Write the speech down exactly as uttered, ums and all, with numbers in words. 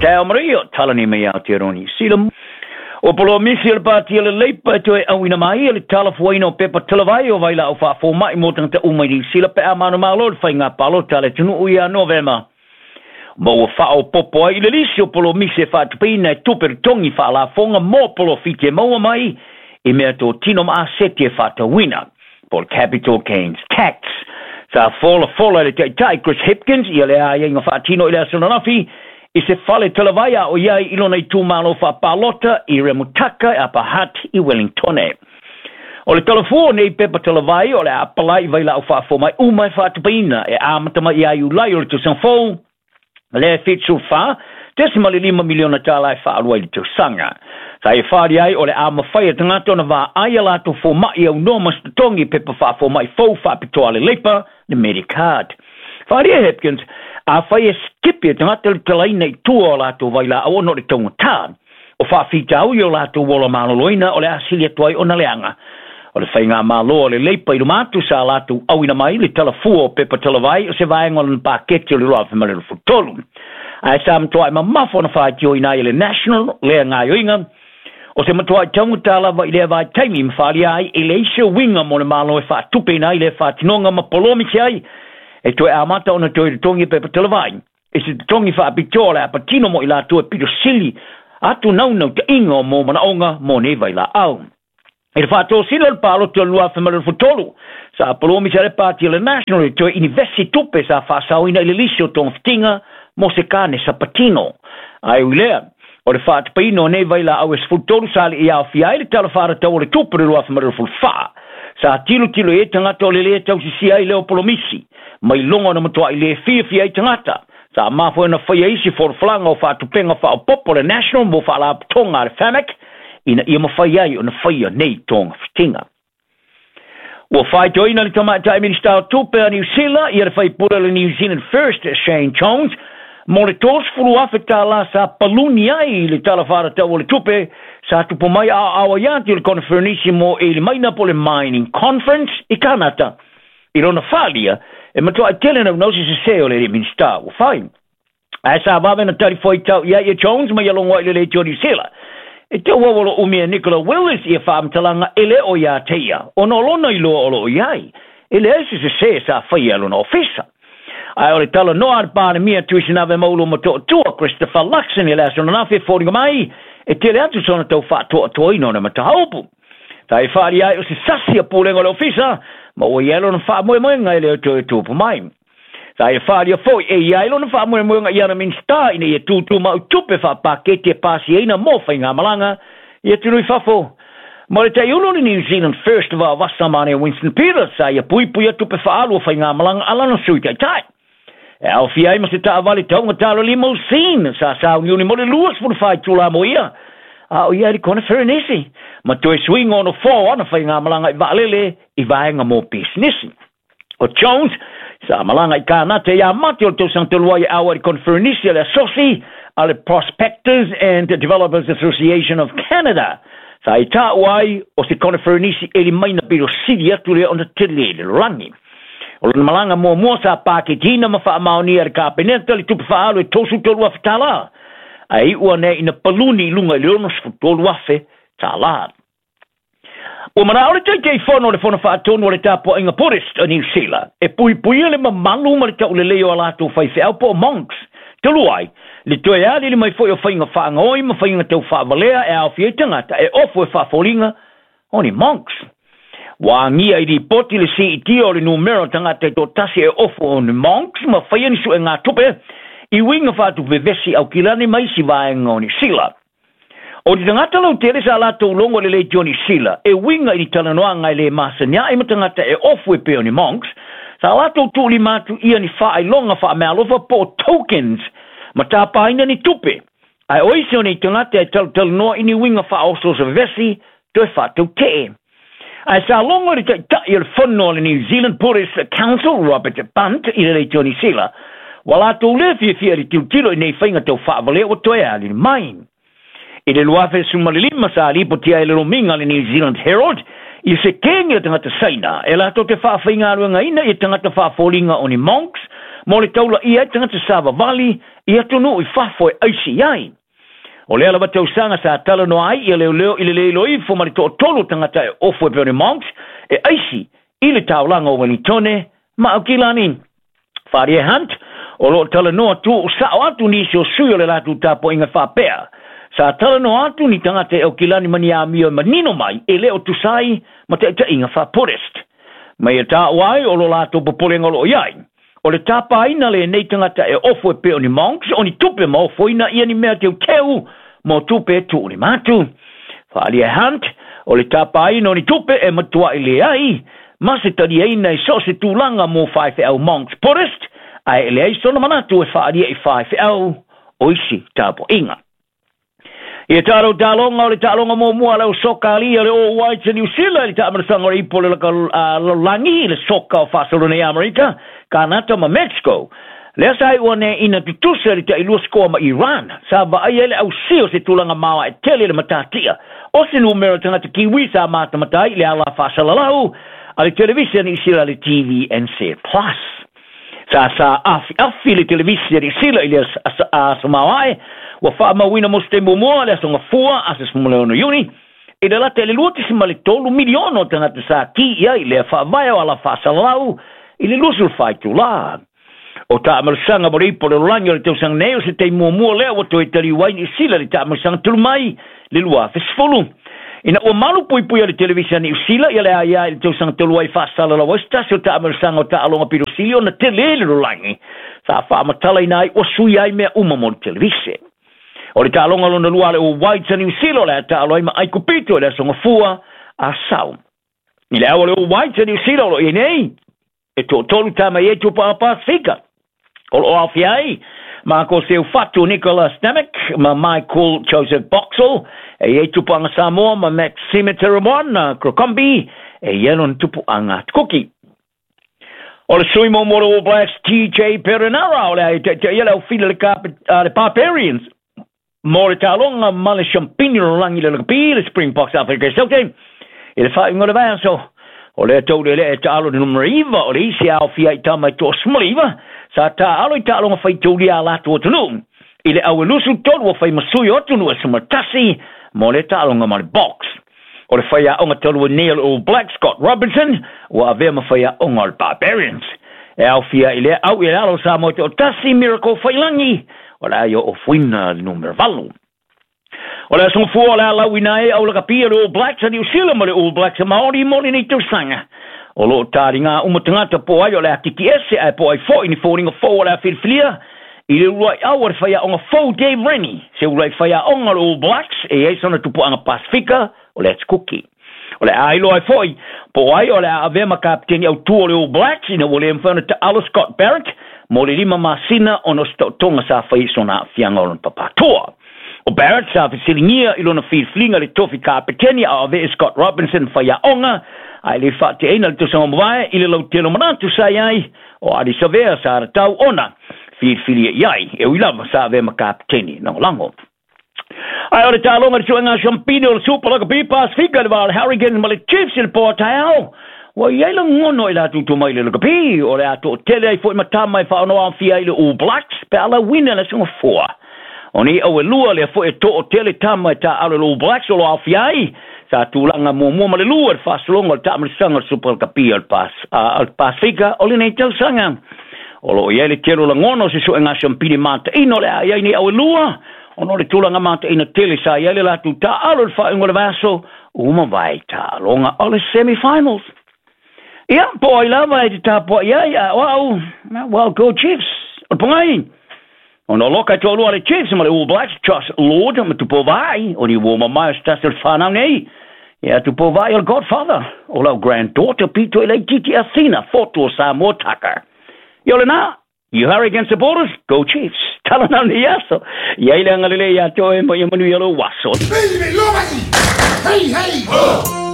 Tau Maria, talani mai Aotearoa Niu Sila. O polomisi o le pāti o le Leipa e toe auina mai e le talafuaina o pepa talavai o vailaau faafomai mo tagata uma i Niu Sila pe a manumalo le faiga palota a le atunuu ia Novema. Ma ua faaopopo ai i le lisi o polomisi e faatupeina e tupe totogi faalafoga mo polofiti e maua mai i mea totino ma aseti e faatauina, po o le capital gains tax. Sa folafola e le taitai Chris Hipkins ia le aiaiga faatino i le aso ananafi i se fale talavai a o i ai i lona itumalo faapalota i Remutaka e Upper Hutt i Wellingtone. O le talafua o nei pepa talavai o le a apalai i vailaau faafomai uma e faatupeina e amata mai ia Iulai o le tausaga fou, le fitu fa tesima le lima miliona tālā e faalua i le tausaga. Sa e fāli ai o le a mafai e tagata ona vaai a latou fomai aunoa ma se totogi pepa faafomai fou faapitoa a le Leipa, le Medicard. Faaalia Hipkins, afai e skipi e tagata le talaina i tua o latou vailaau ona o le taugatā o faafitaui o latou ola maloloina o le a sili atu ai ona leaga. O le faigamalo a le Leipa i luma atu sa latou auina mai le talafua o pepa talavai o se vaega o lona paketi o le lua afe ma le luasefulu tolu. Ae sa matuai mamafa ona faitioina ai e le National lea gaoioiga o se matuai taugata lava i lea vaitaimi ma faaalia ai e leai se uiga mo le Malo e faatupeina ai lea faatinoga ma polomisi ai e toe amata ona toe totogi pepa talavai i se totogi faapitoa o le a patino mo i latou e pito sili atu naunautaiga o mo manaoga mo nei vailaau. I le faatosina o le palota o le lua afe ma le luasefulu tolu, sa polomisi ai le pāti o le National e toe inivesi tupe sa faasaoina i le lisi o togafitiga mo se kanesa patino. Ae ui lea, o le faatupeina o nei vailaau e sefulu tolu sa alii aofia ai le tala faatatau o le tupe o le lua afe ma le luasefulu fa. Sa tilotilo i ai tagata o le lē tausisia ai lea o polomisi, mai luga ona matuai lē fiafia ai tagata. Sa mafua ona faia isi folafolaga o faatupega faaopoopo a le National mo faalapotoga a le Pharmac ina ia mafai ai ona faia nei togafitiga. Ua faitioina le tamaitai Minisita o Tupe a Niu Sila ia le faipule o le New Zealand First Shane Jones mo le tolusefulu afe tālā sa paluni ai i le tala faatatau o le tupe sa tupu mai aoao ai atu i le koneferenisi mo eli maina po o le Mining Conference i Kanata. I lona faaalia e matuai tele naunau se sesē o le alii Minisita ua fai. Ae sa vave na talifuaitau i ai e Jones ma ia logo ai le leitio o Niu Sila. E tau au o lo umi e Nicola Willis ia faamatalaga e le o iā te ia, ona o lona iloa o lo o i ai, e leai se sesē sa faia e lona ofisa. Ae o le talanoa a le Palemia Tuisinave Maulu Motootua Christopher Luxon i le aso ananafi e foliga mai, e tele atu sona tau faatoatoaina o na mataupu. Sa e faaalia ai o se sasi a pulega o le ofisa, ma ua i ai lona faamoemoega e le o toe tupu mai. Sa e faaalia foi e i ai lona faamoemoega i ana Minisita ina ia tutumau tupe faapaketi e pasiaina mo faigamalaga i atunuu i fafo. Ma le taiulu o le New Zealand First vaavasa mane Winston Peters sa ia puipuia tupe faaalu o faigamalaga a lana sui taitai. E aofia ai ma se taavale taugata le limousine sa sauniuni mo le luasefulu fa itulā mo ia a o ia i le koneferenisi ma toe suiga o nofoa o ana faigamalaga i vaalele i vaega mo pisinisi. O Jones sa malaga i Kanata ia Mati o le tausaga talu ai e ʻauai i le koneferenisi a le asosi a le Prospectors and Developers Association of Canada. Sa i taua ai o se koneferenisi eli maina pito sili atu lea ona tele i le lalolagi. O lona malaga muamua sa paketiina ma faamaonia e le Kapeneta le tupe faaalu e tolusefulu tolu afe tālā, ae iu ane ina paluni i luga i le onosefulu tolu afe tālā. Ua manao le Taitaifono o le Fono Faatonu o le Tapuaiga Buddhist o Niu Sila e puipuia le mamalu ma le taulelei o a latou faifeau po o monks. Talu ai, le toe aliali mai foi o faiga faagaoi ma faiga tau faavalea e aofia ai tagata e ofo e faafoliga o ni monks. Ua agia i lipoti le siitia o le numera o tagata e toatasi e ofo o ni monks ma faia ni suegatupe i uiga faatuvevesi Aukilani ma isi vaega o Niu Sila. O ni tagata lautele sa latou logo i le leitio o Niu Sila e uiga i ni talanoaga e lē masani ae ma tagata e ofo e pei o ni monks, sa latou tuulima atu ia ni faailoga faameaalofa po o tokens ma tapaina ni tupe. Ae o isi o nei tagata e talatalanoa i ni uiga faaosooso vevesi toe faatautee. Ae sa logo le taitai o le fono o le New Zealand Buddhist Council Robert Bunt i le leitio o Niu Sila, ua latou lē fiafia i le tilotilo i nei faiga tau faavalea ua toe aliali mai. I le lua afe sefulu ma le lima sa lipotia ai le lomiga a le New Zealand Herald i se kegi o tagata Saina e latou te faafaigaluegaina i tagata faafoliga o ni monks mo le taulaia ai tagata savavali i atunuu i fafo e aisi ai. O lea lava tausaga sa talanoa ai ia leoleo i le le iloa ifo ma le toatolu tagata e ofo e pei o ni monks e aisi i le taulaga o Wellingtone ma Aukilani. Faaalia e Hunt, o loo talanoa tuusao atu nisi o sui o le latou tapuaiga faapea. Sa talanoa atu ni tagata e Aukilani ma ni amio e manino mai e le o tusa ai ma taitaiga faa-Buddhist. Ma ia taua ai o lo latou popolega o loo i ai. O le tapaina lenei tagata e ofo e pei o ni monks o ni tupe ma ofoina ia ni mea teuteu mo tupe e tuulima atu. Faaalia e Hunt, o le tapaina o ni tupe e matuai leai ma se taliaina i so o se tulaga mo faifeau monks Buddhist, ae e leai sona manatu e faaalia i faifeau o isi tapuaiga. Ia tatou taaloga o le taaloga muamua le soka alia le All Whites a Niu Sila i le taamanasaga o le ipu o le lalolagi le soka o faasolo nei Amerika, Kanata ma Mexico. Lea sa iua ina tutusa le tailua skoa ma Iran. Sa vaaia ai le ausia o se tulaga maoae tele le matatia. O se numera tagata Kiwi sa matamata ai i le ala faasalalau a le televisi a Niu Sila le T V N Z Plus. Sa sa afi afi le televisi a Niu Sila i le aso maoae ua faamauina mo se taimi muamua le aso Gafua aso sefululeono Iuni i le lata i le lua tesima le tolu miliona o tagata sa ki i ai lea faavae o ala faasalalau i le luasulu fa itulā. O taamalosaga mo le ipu o le lalolagi o le tausaga nei o se taimi muamua lea ua toe taliu ai Niu Sila le taamalosaga talu mai le lua afe sefulu. Ina ua malu puipui a le televisi a Niu Sila ia le aia i le tausaga talu ai faasalalau ai se tasi o taamalosaga o taaloga pito sili ona tele le lalolagi. Sa faamatalaina ai ua sui ai mea uma mo le televise. O le taaloga lona lua le All Whites a Niu Sila o le a taalo ai ma Aikupito i le aso Gafua Asau. I le au o le All Whites a Niu Sila o loo i nei, e toatolu tama i e tupuaga Pasifika. O loo aofia ai Mako Seufatu, Nicolas Stamick ma Michael Joseph Boxall e i ai tupuaga Samoa ma Maxime Teremoana Crocombe e i ai lona tupuaga Kuki. O le sui muamua o le All Blacks T J Perenara o le a taitaia le aufili le, le Barbarians mo le taaloga ma le siampini lalolagi le lakapi le Springboks Afrika i Saute i le faaiuga o le vaiaso. O lea taulu le e taalo le numera iva o le isi aofia i tama i toasefuluiva sa taalo i taaloga faitaulia a latou atunuu. I le au e lusu tolu ua fai masui o atunuu e sumatasi mo le taaloga ma le Boks. O le faiaoga talu nei o le All Black Scott Robinson ua avea ma faiaoga o le Barbarians. E aofia i lea au i le alo sa mo te o tasi Miracle Faiilagi o le a ia ofoina le numera valu. O le aso Gafua o le a lauina ai au lakapi le All Blacks a Niu Sila ma le All Blacks a Maori mo lenei tausaga. O loo taliga uma tagata po ai o le a kiki ese ae po ai foi ni foliga fou o le a filifilia i le uluai au a le faiaoga fou Dave Rennie. Se uluai faiaoga o le All Blacks e i ai sona tupuaga Pasifika o le Kuki. O le a iloa ai foi po ai o le a avea ma kapiteni autū o le All Blacks ina ua le mafai ona taalo Scott Barrett mo le lima masina ona o se taotoga sa fai i sona aafiaga o lona papatoa. O Barrett sa fesiligia i lona filifiliga le tofi kapiteni a o avea e Scott Robinson faiaoga ae le faateaina le tausaga mavae i le lautele o manatu sa i ai o Ardie Savea sa tatau ona filifilia i ai e ui lava sa avea ma kapiteni lagolago. Ae o le taaloga le suega siampini o le Super Rugby Pasifika le va o le Hurricanes ma le Chiefs i le po taeao. Ua i ai lagono i latou tumai le lakapi o le a toatele ai foi ma tama e faaono aofia ai le All Blacks pe a lauina le aso Gafua. O nei au e lua lea foi e toatele tama e taaalo le All Blacks o lo aofia ai sa tulaga muamua ma le lua le faasologa o le taamalisaga o le Super Rugby o le Pasifika o lenei tausaga. O loo i ai le tele o lagona o se suega siampini mataino o le a i ai nei au e lua ona o le tulaga mataina tele sa i ai le latou taaalo le faaiuga o le vaiaso ua mavae taaloga o le semifinals. Ia, po ai lava e te tapuai ai a o au, well, go Chiefs. O le pogai. Ona o loka e toalua le Chiefs ma le All Blacks, Josh Lord ma Tupou Vaa'i, o ni uo mamae o se tasi o le whanau nei. Ia Tupou Vaa'i o le godfather, o lau granddaughter pito i laitiiti Athena, Fotu o Samoa Tucker. Ia o lena, you Hurricane supporters, go Chiefs. Tala nau ni aso. Ia i le agalelei ia te oe ma ia manuia lou aso. Hey, hey, ho!